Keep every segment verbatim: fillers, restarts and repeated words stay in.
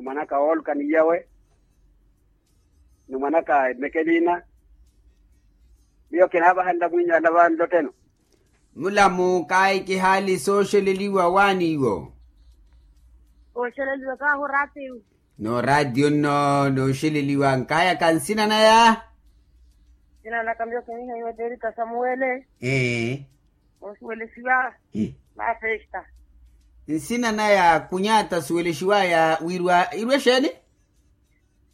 Mwanaka wooluka ni iyawe, ni mwanaka emekeliina. Miyo kinaavahanla mwiinyu ala vanlotteno. Mulamu kaayi kihaali sooxeleliwa waani iwo. Ooxeleliwa kaahu raatiyo. N'oraatiyo nno n'oxeleliwa nkahayaka nsina naya. Nsina naka miyo kinihiwa eterita samuwele. Ee. Osuwelesiwa. Mafesta. Nsina naya kunyata suwelexiwaya wirwa irwe xeeni?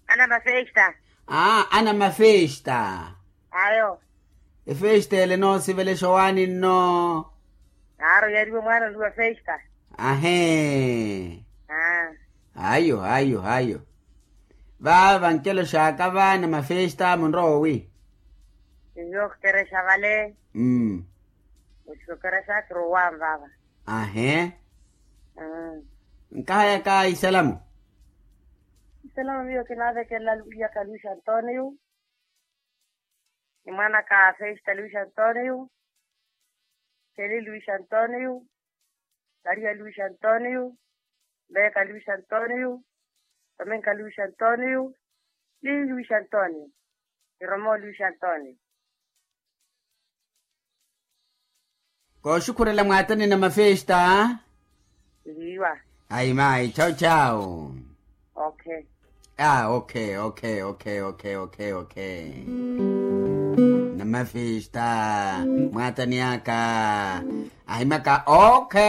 Ana mafesta. Aa ana mafesta. Ayo. Efesta ele noosivelexa owaani nno? Aaro yariwe mwaana oluwa festa. Ahee. Ayo ayo ayo. Vaava nkelo xaaka vaana mafesta munrowa owi? Ihiyo okerexa vale. Mmm. Okerexa kirowa vaava. Ahee. Nkahayaka isalamu. Isalamu miyo kinaavekelela luyaka luis antonio, ni mwanaka festa luis antonio, keli luis antonio, maria luis antonio, mbeka luis antonio, tomenka luis antonio, ni luis antonio, iromo luis antonio. Kooxukhurela mwaatani na mafesta. Ihiwa. Ayi mayi chau chau. Okay. Ah okay okay okay okay okay okay. Na mafesta mwaatani aka. Ahimaka okay.